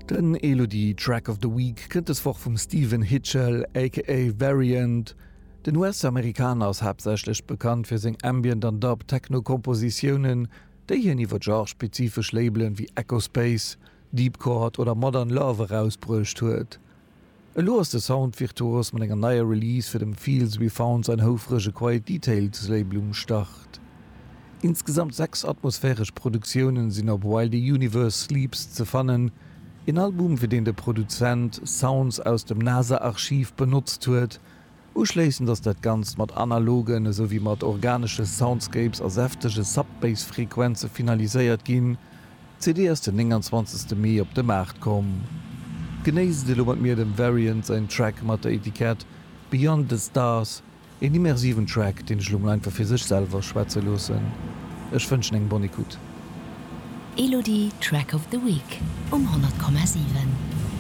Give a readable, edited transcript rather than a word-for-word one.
Den Elodie Track of the Week kënnt des Woch vum Stephen Hitchell aka Variant. Den US-Amerikaner ass haaptsächlech bekannt fir seng Ambient an Dub Techno Kompositiounen, déi hien iwwer genre-spezifesch Labelen wéi Echospace, Deepchord oder Modern Love erausbruecht huet. Elo ass de Sound-Virtuos mat enger neier Release fir dem Fields We Found säin houfrege Quiet Details Label um Start. Insgesamt 6 atmosphäresch Produktiounen sinn op While the Universe Sleeps ze fannen, een Album fir deen de Produzent Sounds aus dem NASA-Archiv benotzt huet. Uschléissend ass dat Ganzt mat analogen esou wéi mat organesche Soundscapes a säftege Sub-Bass-Frequenze finaliséiert ginn. D'CD ass den 29. Mee op de Maart komm. Genéisst elo mat mir dem Variant säin Track mat der Etikett Beyond the Stars, een immersiven Track, deen ech elo mol einfach fir sech selwer schwätze loossen. Ech wënschen eng bonne écoute. Elodie Track of the Week um 100,7.